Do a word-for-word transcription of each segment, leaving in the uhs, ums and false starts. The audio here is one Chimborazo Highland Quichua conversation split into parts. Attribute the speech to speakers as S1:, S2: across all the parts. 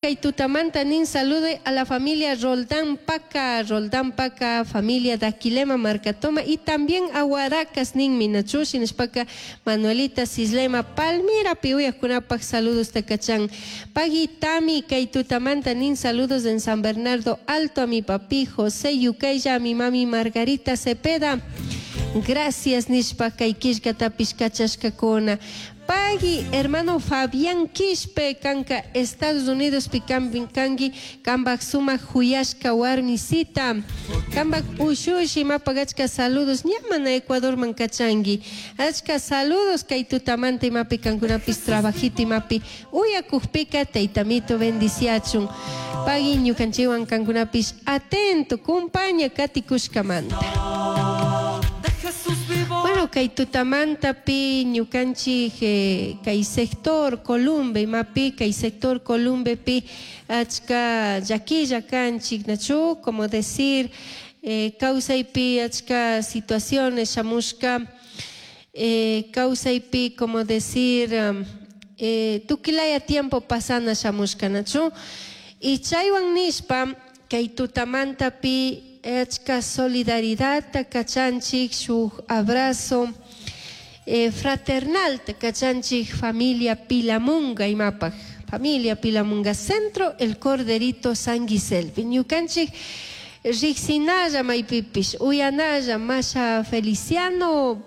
S1: Kay tutamanta nin salude a la familia Roldán Paca, Roldán Paca, familia Daquilema Marcatoma y también a Huaracas nin minachu shinashpaka Manuelita Cislema Palmira piuyajkunapaj saludos takachan. Pagui Tami kay tutamanta nin saludos en San Bernardo Alto a mi papi José Yucaya, a mi mami Margarita Cepeda. Gracias nishpa kay killkatapish kachashkakuna. Pagui, hermano Fabián Quispe, kanka Estados Unidos pi kanki, kambak sumak huyashka warmisita, kambak ushushi mapagachka saludos, ña mana Ecuador man kachangi, achka saludos kay tutamanta imapi kankunapis trabajito imapi, uyakukpika taytamito bendiciachun, pagui ñukanchiwan kankunapis atento, kumpaña katikushkamanta. Bueno, kay tutamanta pi ñukanchik eh, kay sector Columbe imapi kay sector Columbe pi achka llaquilla kanchik nachu como decir eh, kawsaypi achka situaciones shamushka eh, kawsaypi como decir um, eh, tukilaya tiempo pasana shamushka nachu y chaywan nishpa kay tutamanta pi achka solidaridad kachanchik shuk abrazo eh, fraternal kachanchik familia Pilamunga imapaj familia Pilamunga Centro El Corderito San Giselpi ñukanchik riqsinalla maypipish uyanalla masha Feliciano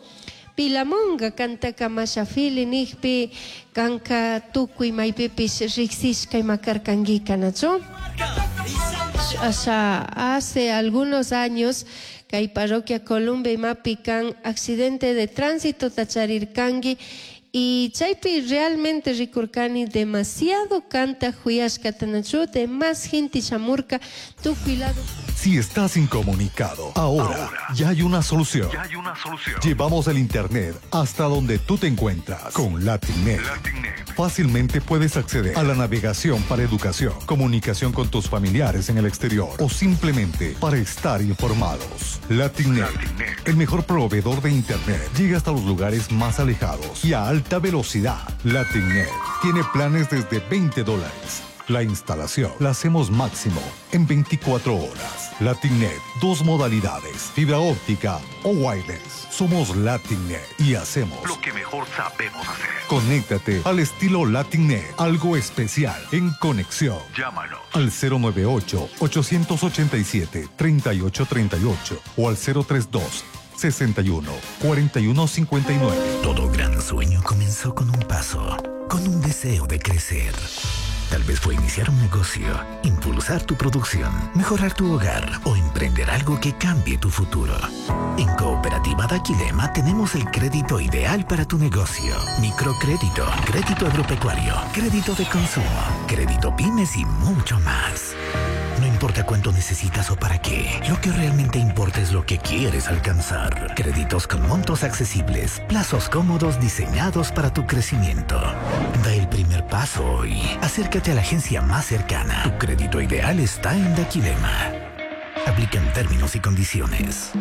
S1: Pilamunga kantaka masha Fili nijpi kanka tukuy maypipish riqsishka ima karkankika nachu. O hace algunos años kay parroquia Columbe imapi kan accidente de tránsito tacharirkanki y chaypi realmente rikurkani demasiado kanta huyashkata nachu más gente shamurka tukuy lado.
S2: Si estás incomunicado, ahora, ya hay una solución.
S3: Ya hay una solución.
S2: Llevamos el internet hasta donde tú te encuentras con LatinNet.
S3: LatinNet.
S2: Fácilmente puedes acceder a la navegación para educación, comunicación con tus familiares en el exterior o simplemente para estar informados. LatinNet,
S3: LatinNet.
S2: el mejor proveedor de internet, llega hasta los lugares más alejados y a alta velocidad. LatinNet tiene planes desde veinte dólares. La instalación la hacemos máximo en veinticuatro horas. LatinNet, dos modalidades, fibra óptica o wireless. Somos LatinNet y hacemos
S3: lo que mejor sabemos hacer.
S2: Conéctate al estilo LatinNet, algo especial en conexión.
S3: Llámanos
S2: al cero nueve ocho, ochocientos ochenta y siete, treinta y ocho treinta y ocho o al cero tres dos, sesenta y uno, cuarenta y uno cincuenta y nueve.
S4: Todo gran sueño comenzó con un paso, con un deseo de crecer. Tal vez fue iniciar un negocio, impulsar tu producción, mejorar tu hogar o emprender algo que cambie tu futuro. En Cooperativa Daquilema tenemos el crédito ideal para tu negocio. Microcrédito, crédito agropecuario, crédito de consumo, crédito pymes y mucho más. No importa cuánto necesitas o para qué, lo que realmente importa es lo que quieres alcanzar. Créditos con montos accesibles, plazos cómodos diseñados para tu crecimiento. Da el primer paso hoy. Acércate a la agencia más cercana. Tu crédito ideal está en Daquilema. Aplican términos y condiciones.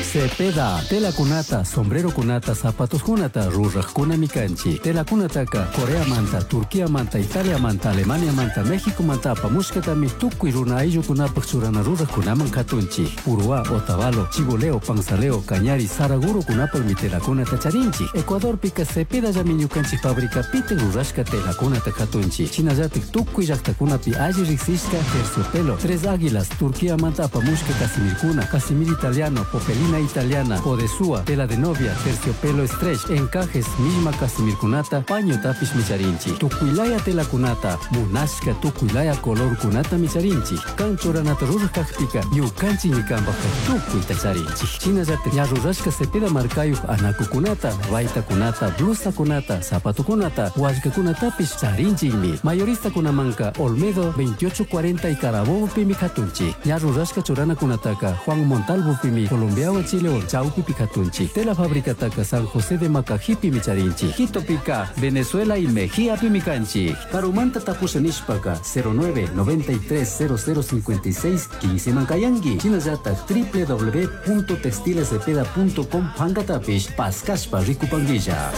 S5: Cepeda, tela kunata, sombrero kunata, zapatos kunata, ruraj kuna mikanchi. Tela kunataka, Corea manta, Turquía manta, Italia manta, Alemania manta, México manta, apamushkatami, tukuy runa ayllu kunapaj churana ruraj kunaman katunchi. Uruá, Otavalo, Chigoleo, Panzaleo, Cañari, Saraguro kunapaj mi tela kunata charinchi. Ecuador pika Cepeda llami ñukanchi fábrica pite rurashka tela kunata katunchi. Chinallatik tukuy llaqtakunapi alli riqsishka terciopelo, Tres Águilas, Turquía manta apamushka casimirkuna, casimir italiano, popelina italiana, odesúa, tela de novia, terciopelo stretch, encajes, misma casimirkunata, paño tapish micharinchi, tukuylaya tela kunata, munashka tukuylaya color kunata micharinchi, kanchuranata rurajkajpika, ñukanchi ñikanpajka tukuy tacharinchi. Shinallata ña rurashka Cepeda markayuj anakukunata, baytakunata, blusakunata, zapatukunata, wallkakunatapish charinchikmi. Mayorista kunamanka Olmedo veintiocho cuarenta y Carabobo pimi katunchi. Ña rurashka churanakunataka Juan Montalvo pimi, Colombia Chile Chaupi Picatunchi, Tela Fábrica Taca San José de Macajipi Micharinchi, Quito Pica, Venezuela y Mejía Pimicanchi, Carumanta Tapushanishpaca, cero nueve noventa y tres cero cero cincuenta y seis quince Mancayangui, Chinayata, doble u doble u doble u punto textiles cepeda punto com Pangatapish, Pascaspa, Ricupanguilla.